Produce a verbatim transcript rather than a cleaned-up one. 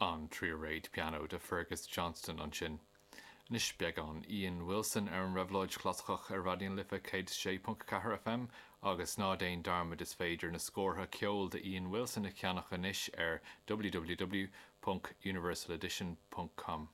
An Tríréad Pianó de Fergus Johnston ansin. Anois beagán Ian Wilson ar an Réabhlóid Chlasaiceach ar Raidió na Life céad sé ponc ceathair FM agus ná déan dearmad is féidir na scórtha ceoil de Ian Wilson a cheannach anois ar www.universaledition.com.